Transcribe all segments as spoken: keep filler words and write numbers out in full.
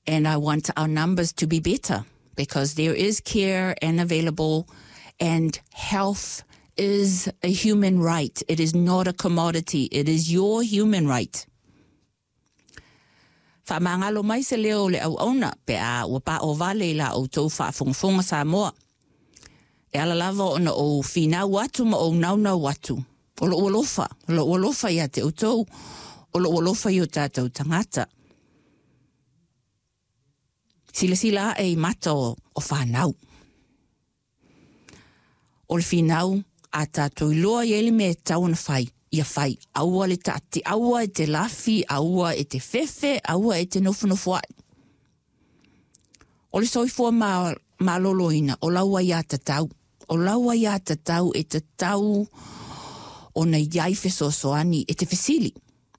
And I want our numbers to be better because there is care and available, and health is a human right. It is not a commodity. It is your human right. Faamagalo mai se leo o le auauna pe a ua paovale i la outou faafogafoga Samoa. E ala lava ona ou finau atu ma ou naunau atu. O lou alofa, o lou alofa ia te outou, o lou alofa i o tatou tagata. Silasila ae i mata o, o fanau. O le finau a tatou iloa i ai le mea e tatau ona fai, ia fai. Aua le taati, aua e te lafi, aua e te fefe, aua e te nofonofoai. O le soifua ma, maloloina, o lau aiatatau. O lau aiatatau e tatau ona i ai fesoasoani e te fesili.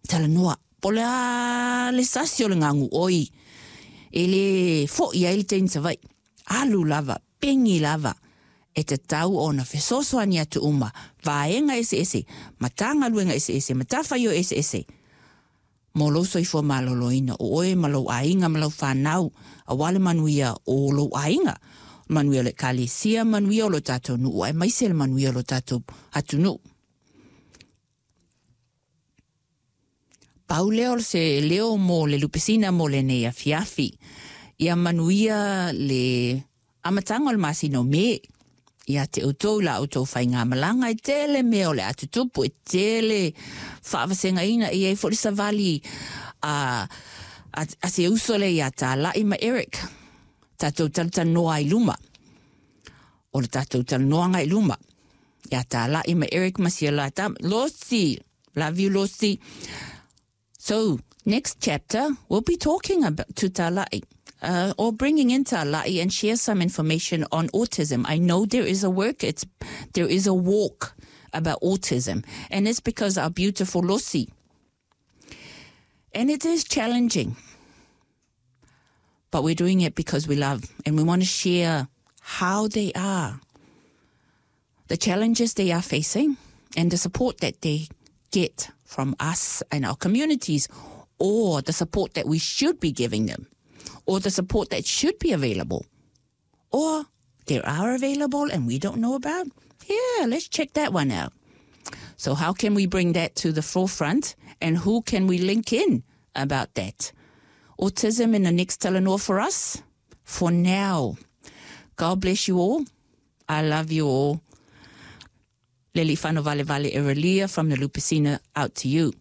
Talanoa, po o le a le sasi o le gaguoi e lē foʻi ai le teine Savaii. Alu lava, pegi lava, e tatau ona fesoasoani atu uma, vaega eseese, matagaluega eseese, matafaioi eseese, mo lou soifua maloloina, o oe ma lou aiga ma lau fanau, auā le manuia o lou aiga, manuia o le ekalesia, manuia o lo tatou nuu, aemaise le manuia o lo tatou atunuu. Pau lea o se leo mo le Lupesina mo lenei afiafi. Ia manuia le amataga o le masina o Me ia te outou i la outou faigamalaga. E tele mea o le a tutupu, e tele faavasegaina, e i ai foi le savali a, a, a se uso lea ia Talai ma Eric. Tatou talatalanoa ai i luma. O le tatou talanoaga i luma. Ia Talai ma Eric ma sia la tama. Losi! Love you, Losi. So, next chapter, we'll be talking about to Talai. Uh, or bringing in Talai and share some information on autism. I know there is a work, it's, there is a walk about autism, and it's because our beautiful Losi. And it is challenging, but we're doing it because we love and we want to share how they are, the challenges they are facing, and the support that they get from us and our communities, or the support that we should be giving them, or the support that should be available, or there are available and we don't know about. Yeah, let's check that one out. So how can we bring that to the forefront, and who can we link in about that? Autism in the next Talanoa for us? For now. God bless you all. I love you all. Leleifanovalevale Eralia from the Lupesina out to you.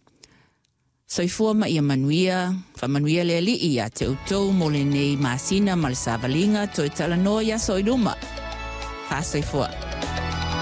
Soifua ma ia manuia, faamanuia le Alii ia te outou mo lenei masina ma le savaliga toe talanoa i aso i luma. Faasoifua.